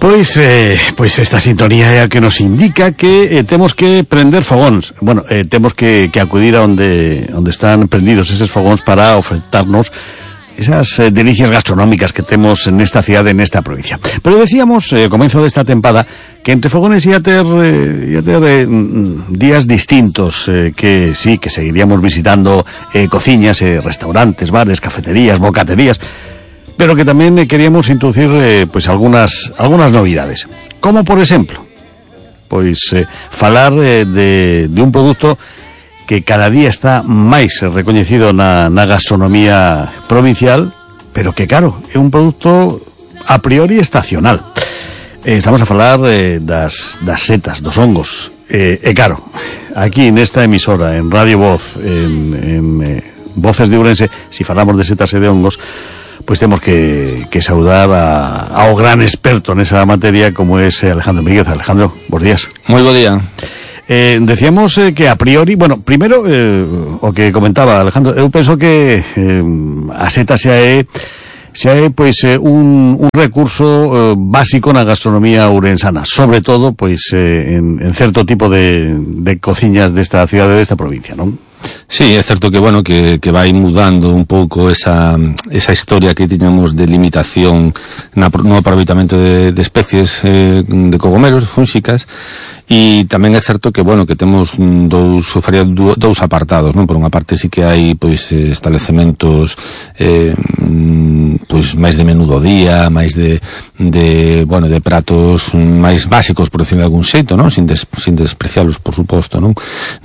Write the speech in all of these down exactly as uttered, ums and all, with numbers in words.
Pois, eh, pois esta sintonía é a que nos indica que eh, temos que prender fogóns. Bueno, eh, temos que, que acudir a onde, onde están prendidos eses fogóns para ofertarnos esas eh, delicias gastronómicas que temos nesta cidade, nesta provincia. Pero decíamos, eh, ao comezo desta tempada, que entre fogones ia ter, eh, ia ter eh, días distintos, eh, que sí, que seguiríamos visitando eh, cociñas, eh, restaurantes, bares, cafeterías, bocaterías, pero que tamén eh, queríamos introducir eh, pois algunas algunas novidades. Como, por exemplo, pois eh, falar eh, de, de un produto que cada día está máis recoñecido na, na gastronomía provincial, pero que, claro, é un produto a priori estacional. Eh, estamos a falar eh, das, das setas, dos hongos. Eh, e claro, aquí nesta emisora, en Radio Voz, en, en eh, Voces de Ourense, si falamos de setas e de hongos, pois temos que, que saudar a, ao gran experto nesa materia como é Alejandro Míguez. Alejandro, bons días. Moi bo día. Eh, decíamos eh, que a priori, bueno, primeiro eh, o que comentaba Alejandro, eu penso que eh, a seta xa é xa é pois eh, un, un recurso eh, básico na gastronomía ourensana, sobre todo pois eh, en, en certo tipo de, de cociñas desta cidade, desta provincia, non? Sí, é certo que, bueno, que, que vai mudando un pouco esa, esa historia que tiñamos de limitación na, no aproveitamento de, de especies eh, de cogomelos, fúnxicas, e tamén é certo que, bueno, que temos dous, faría dous apartados, non? Por unha parte sí que hai, pois, establecementos eh, pois máis de menú do día, máis de, de, bueno, de pratos máis básicos, por decirlo de algún xeito, non? Sin, des, sin desprecialos, por suposto, non?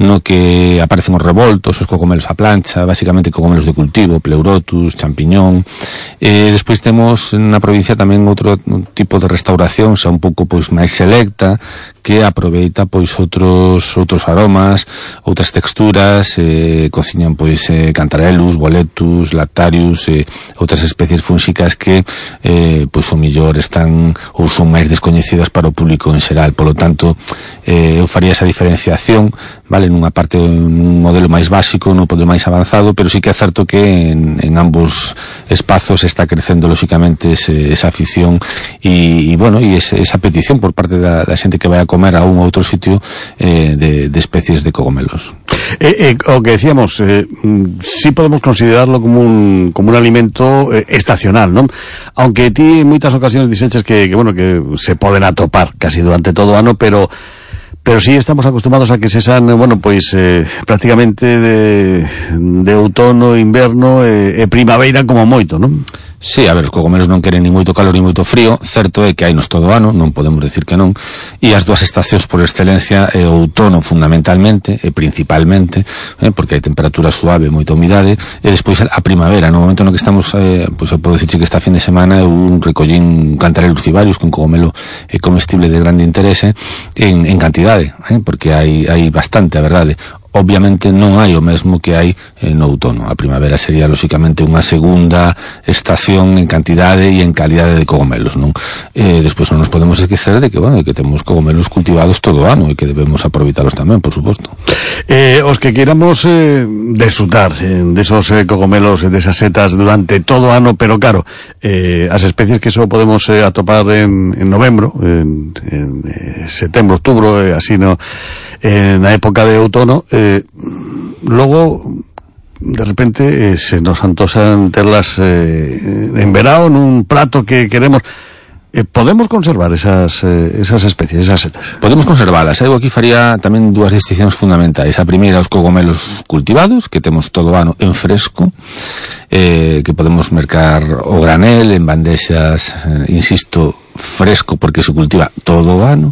No que aparecen os revoltos, os cogomelos a plancha, basicamente cogomelos de cultivo, pleurotus, champiñón. Eh, despois temos na provincia tamén outro tipo de restauración, xa un pouco pois máis selecta, que aproveita pois outros outros aromas, outras texturas, eh, cociñan pois eh, cantarellus, boletus, lactarius, eh, outras especies fúnxicas que eh, pois o millor están ou son máis descoñecidas para o público en xeral. Polo tanto, eh, eu faría esa diferenciación, vale, nunha parte, nun modelo máis básico, nun modelo máis avanzado, pero sí que é certo que en, en ambos espazos está crecendo lóxicamente ese, esa afición e, e bueno, e ese, esa petición por parte da, da xente que vai a comer a un ou outro sitio eh, de, de especies de cogomelos. Eh, eh, o que decíamos, eh, sí podemos considerarlo como un, como un alimento eh, estacional, non? Aunque ti en moitas ocasións dixeches que, que, bueno, que se poden atopar casi durante todo o ano, pero pero sí estamos acostumbrados a que se san, bueno, pois eh, prácticamente de, de outono, inverno e, e primavera como moito, non? Sí, a ver, os cogomelos non queren ni moito calor ni moito frío. Certo é que hai nos todo o ano, non podemos decir que non, e as dúas estacións por excelencia é o outono fundamentalmente e principalmente, eh, porque hai temperatura suave, moita humidade, e despois a primavera. No momento no que estamos, eh, pois eu podo dicir que esta fin de semana eu un recollín cantarellus cibarius, que un cogomelo é comestible de grande interese en, en cantidade, eh, porque hai, hai bastante, a verdade. Obviamente non hai o mesmo que hai eh, no outono. A primavera sería lóxicamente unha segunda estación en cantidade e en calidade de cogomelos, non? Eh, despois non nos podemos esquecer de que, bueno, de que temos cogomelos cultivados todo o ano e que debemos aproveitalos tamén, por suposto. Eh, os que queramos eh, disfrutar eh, desos eh, cogomelos e desas setas durante todo o ano, pero claro, eh, as especies que só podemos eh, atopar en, en novembro, en, en eh, setembro, outubro, eh, así no, eh, na época de outono, eh, logo de repente eh, se nos antosan terlas eh, en verao nun prato que queremos. Eh, podemos conservar esas eh, esas especies, esas setas? Podemos conservalas. Eu aquí faría tamén dúas distincións fundamentais. A primeira, os cogomelos cultivados, que temos todo o ano en fresco, eh, que podemos mercar o granel en bandexas, eh, insisto, fresco porque se cultiva todo o ano.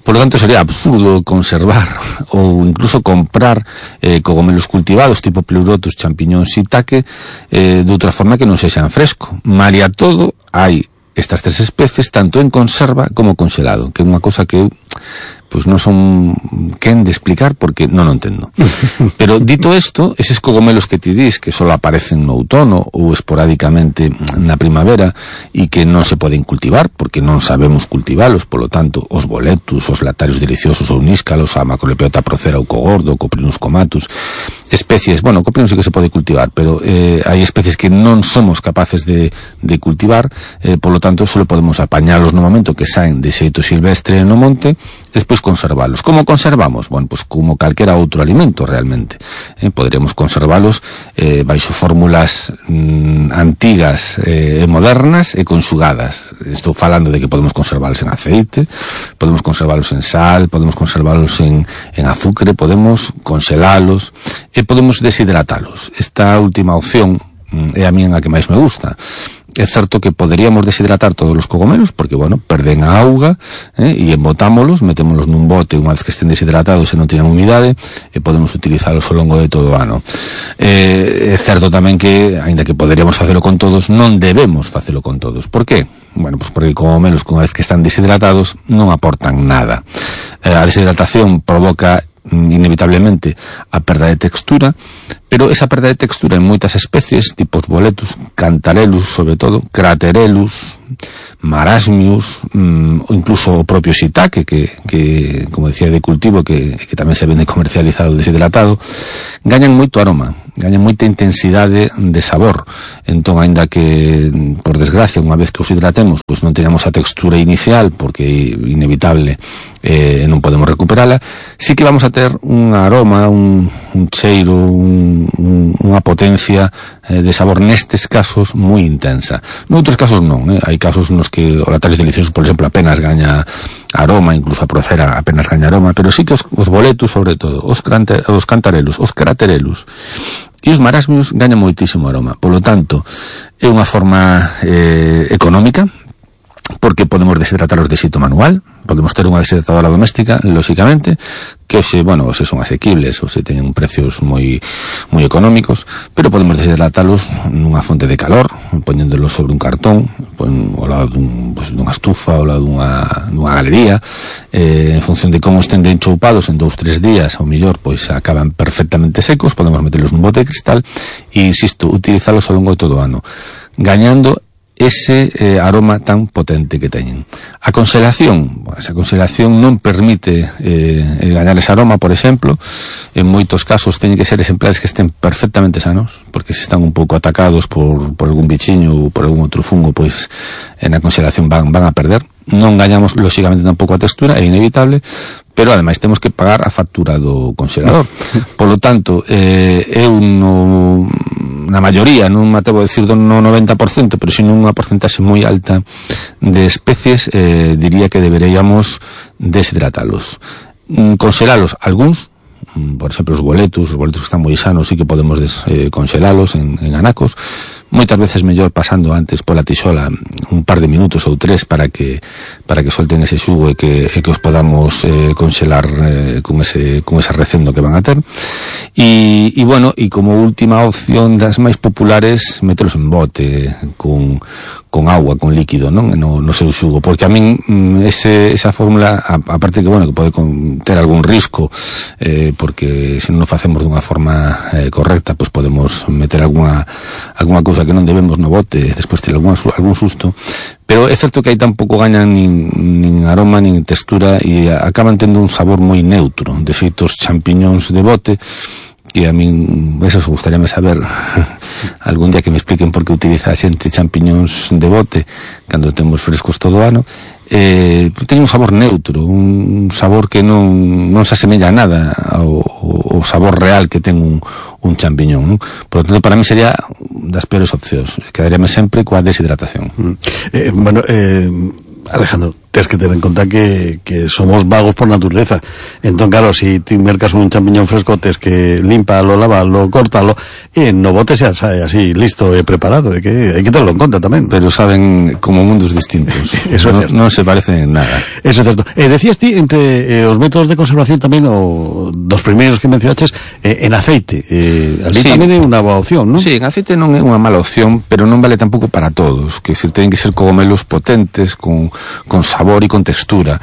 Por lo tanto, sería absurdo conservar ou incluso comprar eh, cogomelos cultivados tipo pleurotus, champiñóns, shiitake eh, de outra forma que non sexan fresco. Malia todo, hai estas tres especies tanto en conserva como congelado, que é unha cosa que eu pois non son quen de explicar porque non o entendo. Pero dito isto, eses cogomelos que ti dis que só aparecen no outono ou esporádicamente na primavera e que non se poden cultivar porque non sabemos cultivalos, polo tanto, os boletus, os lactarius deliciosos ou níscalos, a Macrolepiota procera ou cogordo, o Coprinus comatus, especies, bueno, o copino sí que se pode cultivar, pero eh, hai especies que non somos capaces de, de cultivar, eh, por lo tanto, solo podemos apañalos no momento que saen de xeito silvestre no monte, e despois conservalos. Como conservamos? Bueno, pues como calquera outro alimento, realmente. Eh, poderíamos conservalos eh, baixo fórmulas mm, antigas e eh, modernas e conxugadas. Estou falando de que podemos conservalos en aceite, podemos conservalos en sal, podemos conservalos en, en azúcar, podemos conxelalos e podemos deshidratalos. Esta última opción mm, é a mía a que máis me gusta. É certo que poderíamos deshidratar todos os cogomelos, porque, bueno, perden a auga, eh, e embotámolos, metémolos nun bote unha vez que estén deshidratados e non teñan humidade, e podemos utilizalos ao longo de todo o ano. Eh, é certo tamén que, aínda que poderíamos facelo con todos, non debemos facelo con todos. Por que? Bueno, pues porque cogomelos, unha vez que están deshidratados, non aportan nada. Eh, a deshidratación provoca inevitablemente a perda de textura, pero esa perda de textura en moitas especies, tipos boletus, cantarellus, sobre todo, craterellus, marasmius, mmm, ou incluso o propio shiitake, que, que, como decía, de cultivo, que, que tamén se vende comercializado deshidratado, gañan moito aroma, gañan moita intensidade de sabor. Entón, aínda que, por desgracia, unha vez que os hidratemos, pois non teñamos a textura inicial, porque é inevitable, eh, non podemos recuperala, sí que vamos a ter un aroma, un, un cheiro, un, un, unha potencia eh, de sabor nestes casos moi intensa. Noutros casos non, eh? Hai casos nos que o Lactarios Deliciosos, por exemplo, apenas gaña aroma, incluso a Procera apenas gaña aroma, pero sí que os, os boletus, sobre todo, os, crante, os cantarellus, os craterellus e os marasmios gañan moitísimo aroma. Por lo tanto, é unha forma eh, económica, porque podemos deshidratalos de xeito manual, podemos ter unha deshidratadora doméstica, lóxicamente, que hoxe, bueno, hoxe son asequibles, hoxe teñen precios moi moi económicos, pero podemos deshidratalos nunha fonte de calor, poñéndolos sobre un cartón, pon, ao lado dun, pues, dunha estufa, ao lado dunha, dunha galería, eh, en función de como estén de enchoupados en dous, tres días, ao millor, pois acaban perfectamente secos, podemos meterlos nun bote de cristal e, insisto, utilizalos ao longo de todo o ano, gañando ese eh, aroma tan potente que teñen. A conselación, pues, a conselación non permite eh, gañar ese aroma, por exemplo. En moitos casos teñen que ser exemplares que estén perfectamente sanos, porque se están un pouco atacados por, por algún bichiño ou por algún outro fungo, pois en a conselación van, van a perder. Non gañamos, lóxicamente, tampouco a textura, é inevitable, pero ademais temos que pagar a factura do congelador. Por lo tanto, eh, eu no, na maioría, non me atrevo a decir do no noventa por cento, pero sin unha porcentaxe moi alta de especies, eh, diría que deberíamos deshidratalos. Mm, conselalos algúns, por exemplo, os boletus, os boletus que están moi sanos, sí que podemos des, eh, conselalos en, en anacos, moitas veces mellor pasando antes pola tixola un par de minutos ou tres para que para que solten ese xugo e que, e que os podamos eh, congelar eh, con ese con ese recendo que van a ter. E, e bueno, e como última opción das máis populares, metelos en bote con con agua, con líquido, non? No, no seu xugo, porque a min ese, esa fórmula, a, aparte que, bueno, que pode ter algún risco, eh, porque se non o facemos dunha forma eh, correcta, pois pues podemos meter alguna alguna cousa que non debemos no bote, despois ter algún, algún susto, pero é certo que aí tampouco gañan nin, nin aroma, nin textura, e acaban tendo un sabor moi neutro. De feito, os champiñóns de bote, que a min, eso gustaríame saber algún día que me expliquen por que utiliza a xente champiñóns de bote cando temos frescos todo o ano, eh, teñen un sabor neutro, un sabor que non, non se asemella a nada ao, ao sabor real que ten un, un champiñón, non? Por lo tanto, para mí sería das peores opcións, quedaríame sempre coa deshidratación. Mm. Eh, bueno, eh, Alejandro, tens que tener en conta que, que somos vagos por naturaleza. Entón, claro, si ti mercas un champiñón fresco, tens que limpalo, lavalo, cortalo, e no bote xa sae así, listo e preparado. É que hai que tenerlo en conta tamén. Pero saben como mundos distintos. Eso é no, certo. Non se parecen en nada. Eso é certo. Eh, decías ti, entre eh, os métodos de conservación tamén, o dos primeiros que mencionaches, eh, en aceite. Eh, ali sí, tamén é unha boa opción, non? Sí, en aceite non é unha mala opción, pero non vale tampouco para todos. Que decir, ten que ser cogomelos potentes, con, con sabor e con textura.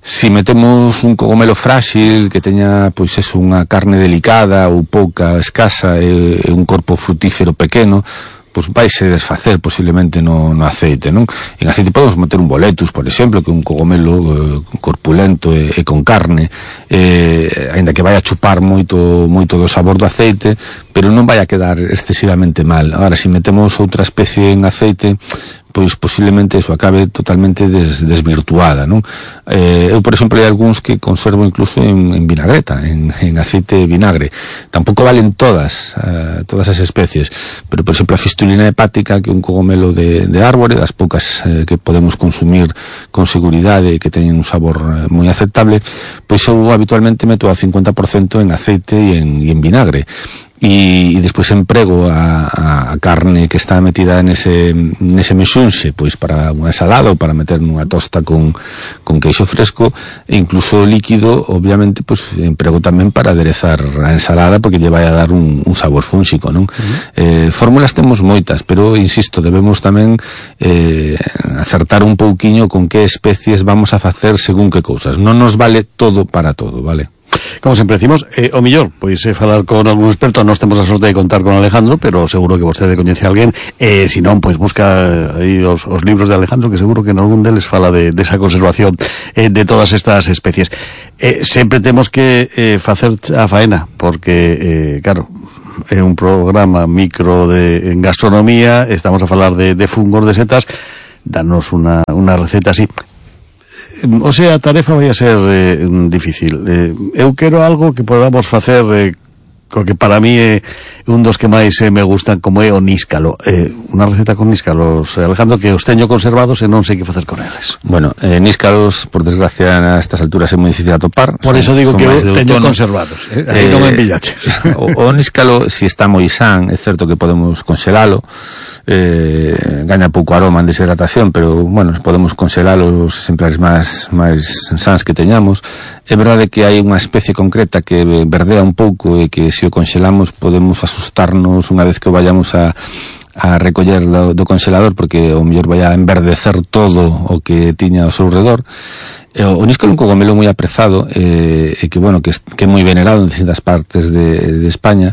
Si metemos un cogomelo frágil que teña, pois eso, unha carne delicada ou pouca, escasa, e, e un corpo frutífero pequeno, pois vaise desfacer posiblemente no, no aceite, non? En aceite podemos meter un boletus, por exemplo, que é un cogomelo eh, corpulento e, e con carne, eh, ainda que vai a chupar moito moito do sabor do aceite, pero non vai a quedar excesivamente mal. Agora, se metemos outra especie en aceite, pois posiblemente eso acabe totalmente des, desvirtuada, non? Eh, eu, por exemplo, hai algúns que conservo incluso en, en vinagreta, en, en aceite de vinagre. Tampouco valen todas, uh, todas as especies, pero, por exemplo, a fistulina hepática, que é un cogomelo de, de árbore, das poucas eh, que podemos consumir con seguridade e que teñen un sabor eh, moi aceptable, pois eu habitualmente meto a cincuenta por cento en aceite e en, e en vinagre. E, e despois emprego a, a, a carne que está metida nese, nese mexunxe, pois para unha ensalada ou para meter nunha tosta con, con queixo fresco, e incluso líquido, obviamente, pois emprego tamén para aderezar a ensalada, porque lle vai a dar un, un sabor fúnxico, non? Uh-huh. Eh, fórmulas temos moitas, pero, insisto, debemos tamén eh, acertar un pouquiño con que especies vamos a facer según que cousas. Non nos vale todo para todo, vale? Como sempre decimos, eh, o millor, pois é eh, falar con algún experto. Nós temos a sorte de contar con Alejandro, pero seguro que vostede coñece a alguén, eh, se non, pois busca aí os, os libros de Alejandro, que seguro que en algún deles fala de, de esa conservación eh, de todas estas especies. Eh, sempre temos que eh, facer a faena, porque, eh, claro, é un programa micro de en gastronomía, estamos a falar de, de fungos, de setas, danos unha, unha receta así. O sea, a tarefa vai a ser eh, difícil. Eh, eu quero algo que podamos facer eh, co que para mí é un dos que máis eh, me gustan, como é o níscalo. Eh, unha receta con níscalos, Alejandro, que os teño conservados e non sei que facer con eles. Bueno, eh, níscalos, por desgracia, a estas alturas é moi difícil atopar. Por son, eso digo que eu teño conservados. Eh? Aí eh, non me envillaches. O, o níscalo, si está moi san, é certo que podemos conxelalo, eh, gaña pouco aroma en deshidratación, pero, bueno, podemos conxelalo os exemplares máis, máis sans que teñamos. É verdade que hai unha especie concreta que verdea un pouco e que se o conxelamos podemos asustarnos unha vez que o vayamos a a recoller do, do congelador, porque o mellor vai a enverdecer todo o que tiña ao seu redor. E o, o níscalo é un cogomelo moi aprezado e, e que, bueno, que, que é moi venerado en distintas partes de, de España,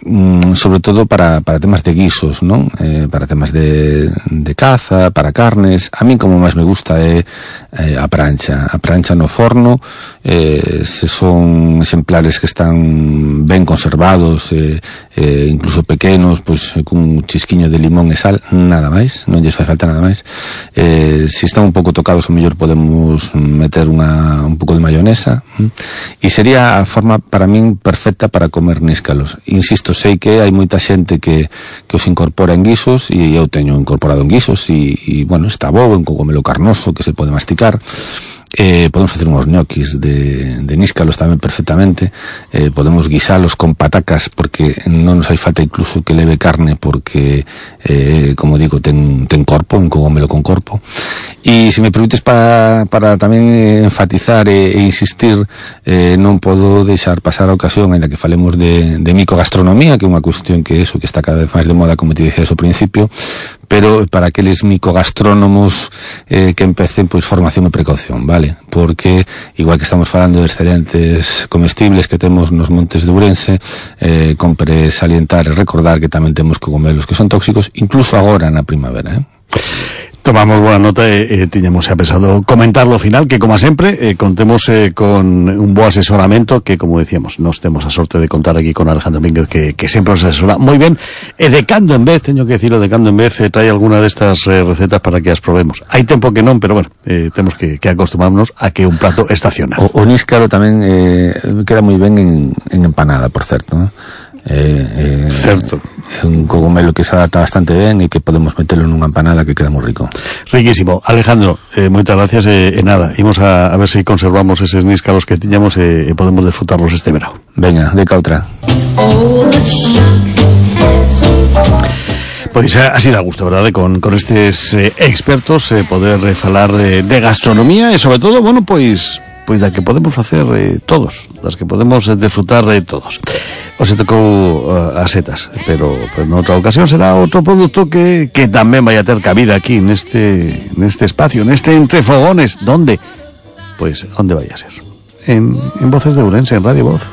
mm, sobre todo para, para temas de guisos, non? Eh, para temas de, de caza, para carnes. A min como máis me gusta é eh, a prancha. A prancha no forno, eh, se son exemplares que están ben conservados, eh, eh, incluso pequenos, pois pues, cun chisquiño de limón e sal, nada máis, non lles fai falta nada máis. Eh, se están un pouco tocados, o mellor podemos meter unha, un pouco de mayonesa, e sería a forma para min perfecta para comer níscalos. Insisto, sei que hai moita xente que, que os incorpora en guisos, e eu teño incorporado en guisos, e, e bueno, está bo, un cogomelo carnoso que se pode masticar. Eh, podemos facer uns ñoquis de, de níscalos tamén perfectamente. Eh, podemos guisalos con patacas, porque non nos hai falta incluso que leve carne, porque eh, como digo, ten, ten corpo, un cogomelo con corpo. E se me permites para, para tamén enfatizar e, e insistir, eh, non podo deixar pasar a ocasión, ainda que falemos de, de micogastronomía, que é unha cuestión que eso, que está cada vez máis de moda, como te dixes ao principio, pero para aqueles micogastrónomos eh, que empecen, pois, formación e precaución, vale? Porque, igual que estamos falando de excelentes comestibles que temos nos montes de Ourense, eh, compre salientar e recordar que tamén temos cogomelos que son tóxicos, incluso agora na primavera, eh? Tomamos buena nota e eh, tiñamos xa pensado comentarlo ao final, que como sempre eh, contemos eh, con un bo asesoramento, que como decíamos, nos temos a sorte de contar aquí con Alejandro Mínguez, que, que sempre nos asesora moi ben, e de cando en vez, teño que decirlo, de cando en vez eh, trae alguna destas eh, recetas para que as probemos. Hai tempo que non, pero bueno, eh, temos que, que acostumbrarnos a que un plato estaciona. O, o níscalo tamén eh, queda moi ben en, en empanada, por certo, eh? Eh, eh, certo. É un cogomelo que se adapta bastante ben e que podemos metelo nunha empanada que queda moi rico. Riquísimo. Alejandro, eh, moitas gracias e eh, eh, nada, imos a, a ver se si conservamos eses níscalos que tiñamos e eh, eh, podemos disfrutarlos este verão. Veña, de cautra. Pois así dá gusto, verdade, con, con estes eh, expertos eh, poder eh, falar eh, de gastronomía e sobre todo, bueno, pois pois da que podemos facer eh, todos, das que podemos eh, disfrutar eh, todos. Os tocou uh, as setas, pero, pero noutra ocasión será outro produto que, que tamén vai a ter cabida aquí neste, neste espacio, neste Entre Fogones. ¿Dónde? Pois, onde vai a ser? En, en Voces de Ourense, en Radio Voz.